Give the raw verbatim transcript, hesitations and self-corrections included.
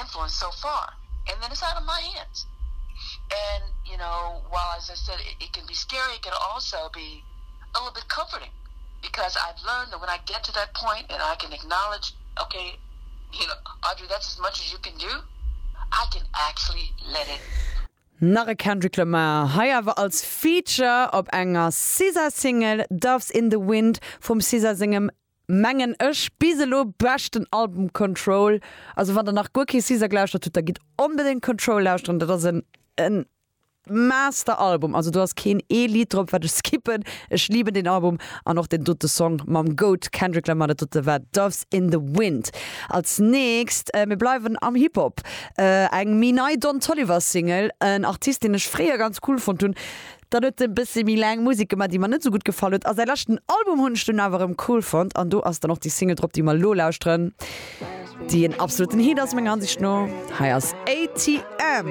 influence so far and then it's out of my hands and you know while as I said it, it can be scary it can also be a little bit comforting because I've learned that when I get to that point and I can acknowledge okay you know Audrey that's as much as you can do I can actually let it Nach e Kendrick Lamar hei awer als Feature op enger SZA Single Doves in the Wind vum SZA sengem mengen ech bis elo beschten Album Control. Also wann der nach guer kee SZA gelauschtert hutt, da gitt onbedéngt Control lauschteren, dat ass en en Master-Album. Also do ass keen ee Lidd drop wat ech skippen. Ech lieben den Album an och den dote Song mam Goat Kendrick Lamar dat dote war Doves in the Wind. Als nächst äh, mir bleiwen am Hip-Hop. Äh, eng méi nei Don Toliver Single, en Artist deen ech fréier ganz cool fonnt hunn. Dann huet e bësse méi laang Musek gemaach, déi mer net sou gutt gefall huet. A säi leschten Album hunn ech dunn awer erëm cool fonnt an do ass dann och déi Single drop, déi mer lo lauschteren, déi en absoluten Hit ass menger Ansicht no. Hei ass ATM.